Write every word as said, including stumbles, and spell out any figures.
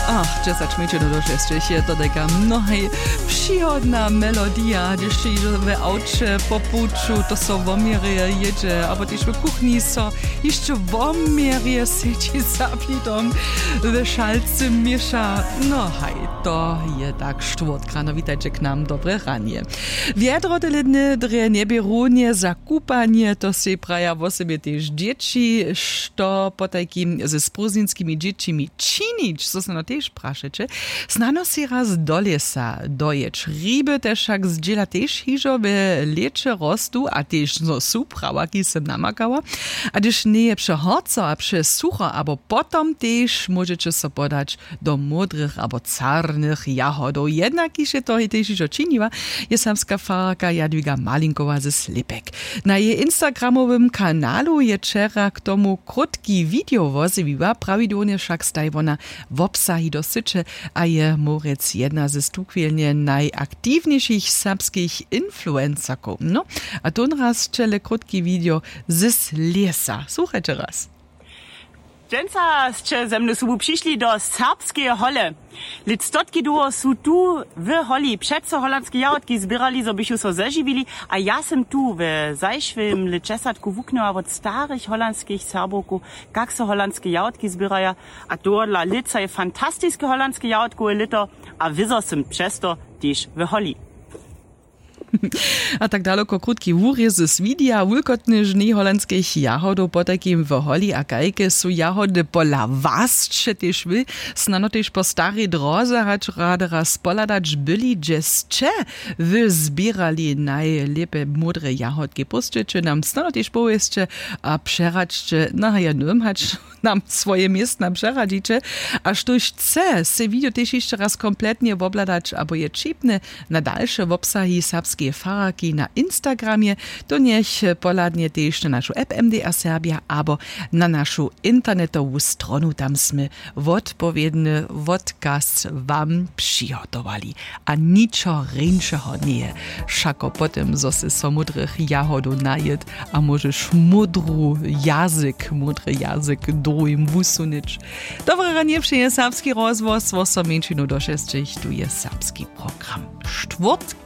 Ach, dźesać mjeńšinow do šesćich je to tajka mnohaj přihodna melodija, hdyž hižo w awće po puću to so woměrje jědźe abo tež w kuchni so hišće woměrje sedźi za plidom, w šalcy měša. No haj, to je tak štwórtk rano. Witajće k nam, dobre ranje. Wjedro tele dny drje njebě runje za kupanje, to sej praja wosebje tež dźěći. Što potajkim ze sprowzninskimi dźěćimi činić, zo snano tež prašeće? Snano sej raz do lěsa dojěć. Hriby te wšak zdźěla tež hižo we lěće rostu a tež zo su prawaki sem namakała. A hdyž njeje přehorco a přesucho abo potom, tež móžeće so podać do módrych abo carnych jahodow. Jednakiž je to tež hižo činiła, je serbska fararka Jadwiga Malinkowa ze Slěpek. Na jeje instagramowym kanalu je wčera k tomu krótki video wozjewiła, prawidłownje wšak staj wona wobsahi do syće a je móhłrjec jedna ze tuchwilnje najaktiwnjejšich serbskich influencerkow. No, a tónraz ćele krótki video z lěsa. Słuchajće raz. Dźensa sće ze mnu sobu přišli do serbskeje hole. Lět stotki dołho su tu w holi přeco holandske jahodki zběrali, zo bychu so zežiwili. A ja sym tu w zašłym lětdźesatku wuknyła wot starych holandskich Serbowkow, kak so holandske jahodki zběraja. A tohodla lětsa je fantastiske holandske jahodkowe lěto a wězo sym přez to tež w holi. A tak daloko krótki wurězy swidija wulkotny žnej holandskich jahodow potajkim w holi a kajke su jahody pola was, sće tež wy snano tež po starej dróze hač rady raz pohladać byli, hdźe sće wy zběrali najlěpe módre jahodki? Pósćeće nam snano tež powěsće a přeradźće na jednym hač nam swoje městna přeradźiće. A štóž chce sej video tež hišće raz kompletnje wobhladać abo je ćipny na dalše wobsahi serbskeje fararki na instagramje, to njech pohladnje tež na našu app mdr serbja abo na našu internetowu stronu. Tam smy wotpowědny wotkaz wam přihotowali. A ničo rjeńšeho njeje wšako po tym, zo sy so módrych jahodow najěd a móžeš módru jazyk módry jazyk druhim wusunyć. Dobre ranje přeje serbski rozhłos, wosomjeńšinu do šesćich. Tu je serbski program. Štwórtk